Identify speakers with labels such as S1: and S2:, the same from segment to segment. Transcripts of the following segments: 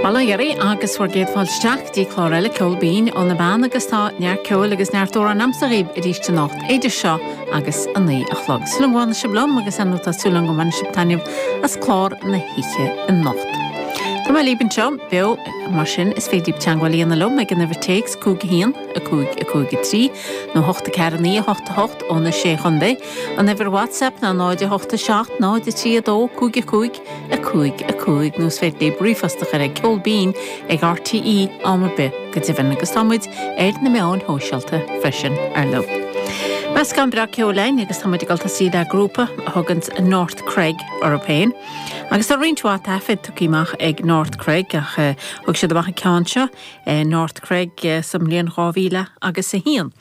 S1: Bail ó Dhia oraibh agus bhur gcéad fáilte isteach go dtí clár eile Ceol Binn ó na Meán agus tá neart ceoil agus neart amhrán a'msa dhaoibh arís anocht idir seo agus a 9 a chlog. Súil agam go bhfanfaidh sibh liom agus ar ndóigh tá súil agam go mbainfidh sibh taitneamh as clár na hoíche anocht. Tá mé libh anseo beo mar sin is féidir libh teagmháil a dhéanamh liom ag an uimhir téacs 5 1 5 5 3 nó 8 4 9 8 8 ó na Sé Chontae. An uimhir WhatsApp ná 0 8 7 0 3 2 5 5 5 5 nó is féidir libh ríomhphost a chur ag ceolbinn ag RTÉ am ar bith go deimhin agus tá muid ar na meáin shóisialta freisin ar ndóigh. Meascán breá ceoil againn agus tá muid ag dul tosaí le grúpa a thuganns North Cregg orthu féin. Agus tá roinnt mhaith taifead tugtha amach ag North Cregg ach thug siad amach an ceann seo, North Cregg, sa mbliain 2000 agus 1.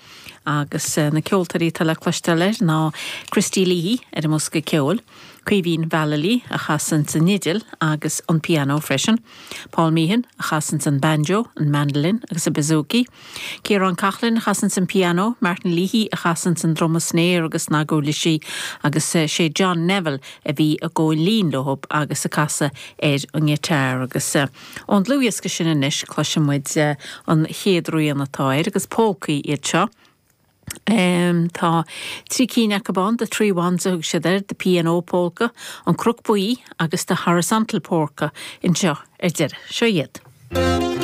S1: Agus na ceoltóirí atá le cloisteáil air ná Christy Leahy ar an mbosca ceoil, Caoimhín Vallely a chasanns an fhidil agus an pianó freisin, Paul Meehan a chasanns an banjo, an mandolin agus an bouzouki, Ciarán Coughlan a chasanns an pianó, Martin Leahy a chasanns an druma snare agus snaguirlisí agus sé John Neville a bhí i gcomhlíon leo agus ag casadh ar an ngiotár agus. Ón dlúthdhiosca sin anois cloisfidh muid an chéad rian atá air agus pólcaí iad seo. Tá trí cinn acu ann, The Three Ones a thug siad air, The P&O Polka, An Cnoc Buí agus The Horizontal Polka anseo ar deireadh. Seo iad.